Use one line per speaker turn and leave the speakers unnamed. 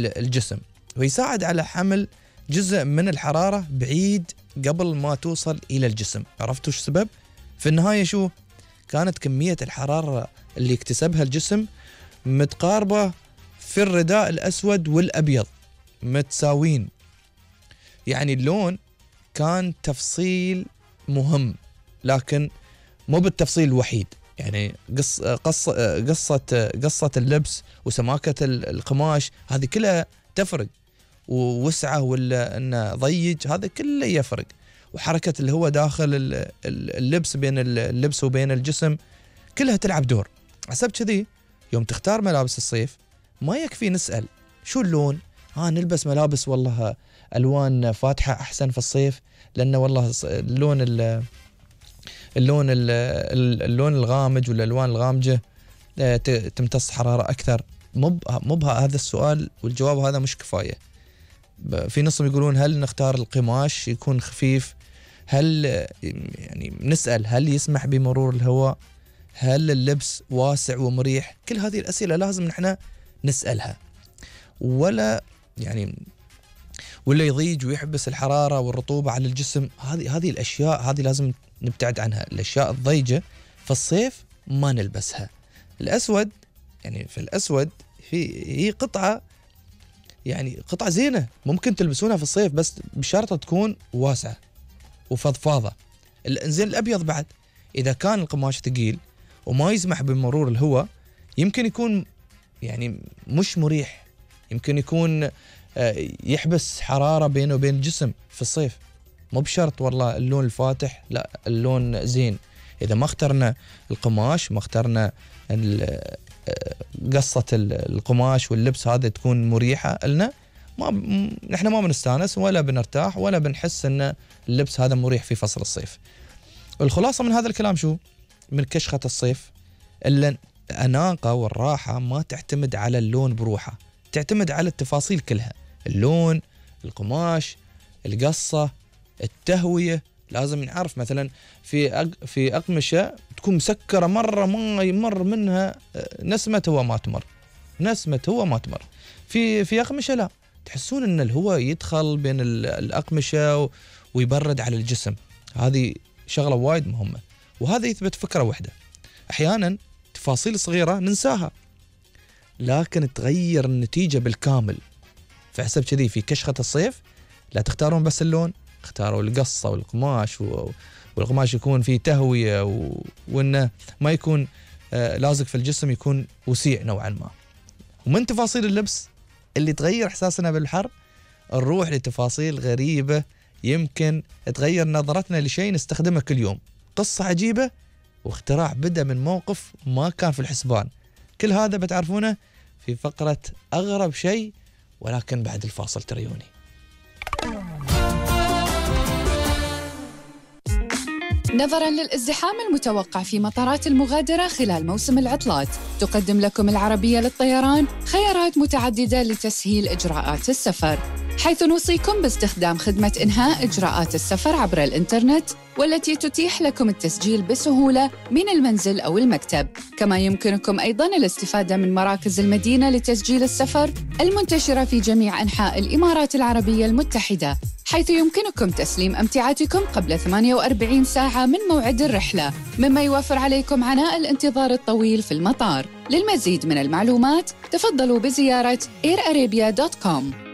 الجسم، ويساعد على حمل جزء من الحرارة بعيد قبل ما توصل إلى الجسم. عرفتوا شو السبب؟ في النهاية شو؟ كانت كمية الحرارة اللي اكتسبها الجسم متقاربة في الرداء الأسود والأبيض، متساوين. يعني اللون كان تفصيل مهم لكن مو بالتفصيل الوحيد. يعني قصة اللبس وسماكة القماش هذه كلها تفرق، ووسعه ولا انه ضيق هذا كله يفرق، وحركة اللي هو داخل اللبس بين اللبس وبين الجسم كلها تلعب دور. حسب كذي يوم تختار ملابس الصيف ما يكفي نسأل شو اللون، نلبس ملابس والله ألوان فاتحة أحسن في الصيف لأنه والله اللون الغامج والألوان الغامجة تمتص حرارة أكثر. مو هذا السؤال والجواب هذا مش كفاية. في نصهم يقولون هل نختار القماش يكون خفيف، هل يعني نسأل هل يسمح بمرور الهواء، هل اللبس واسع ومريح. كل هذه الأسئلة لازم نحن نسألها، ولا يضيج ويحبس الحرارة والرطوبة على الجسم. هذه الأشياء هذه لازم نبتعد عنها. الأشياء الضيجة في الصيف ما نلبسها. الأسود في الأسود هي قطعة زينة ممكن تلبسونها في الصيف، بس بشرط تكون واسعة وفضفاضة. زين الأبيض بعد إذا كان القماش ثقيل وما يسمح بمرور الهواء يمكن يكون مش مريح، يمكن يكون يحبس حرارة بينه وبين الجسم في الصيف. مو بشرط والله اللون الفاتح، لا اللون زين. إذا ما اخترنا القماش، ما اخترنا قصة القماش واللبس هذا تكون مريحة لنا، نحن ما بنستانس ولا بنرتاح ولا بنحس ان اللبس هذا مريح في فصل الصيف. الخلاصة من هذا الكلام شو؟ من كشخة الصيف إلا الأناقة والراحة ما تعتمد على اللون بروحه، تعتمد على التفاصيل كلها. اللون، القماش، القصة، التهوية. لازم نعرف مثلا في أقمشة تكون مسكرة مرة ما يمر منها نسمة هواء ما تمر. في أقمشة لا، تحسون ان الهواء يدخل بين الأقمشة ويبرد على الجسم. هذه شغلة وايد مهمة، وهذا يثبت فكرة واحدة. أحيانا تفاصيل صغيرة ننساها لكن تغير النتيجة بالكامل. فحسب كذي في كشخة الصيف لا تختارون بس اللون، اختاروا القصة والقماش، والقماش يكون فيه تهوية وانه ما يكون لازق في الجسم، يكون وسيع نوعا ما. ومن تفاصيل اللبس اللي تغير احساسنا بالحر نروح لتفاصيل غريبة يمكن تغير نظرتنا لشيء نستخدمه كل يوم. قصة عجيبة واختراع بدأ من موقف ما كان في الحسبان. كل هذا بتعرفونه في فقرة أغرب شيء، ولكن بعد الفاصل تريوني.
نظراً للازدحام المتوقع في مطارات المغادرة خلال موسم العطلات، تقدم لكم العربية للطيران خيارات متعددة لتسهيل إجراءات السفر، حيث نوصيكم باستخدام خدمة إنهاء إجراءات السفر عبر الإنترنت، والتي تتيح لكم التسجيل بسهولة من المنزل أو المكتب. كما يمكنكم أيضاً الاستفادة من مراكز المدينة لتسجيل السفر المنتشرة في جميع أنحاء الإمارات العربية المتحدة، حيث يمكنكم تسليم أمتعتكم قبل 48 ساعة من موعد الرحلة، مما يوفر عليكم عناء الانتظار الطويل في المطار. للمزيد من المعلومات تفضلوا بزيارة airarabia.com.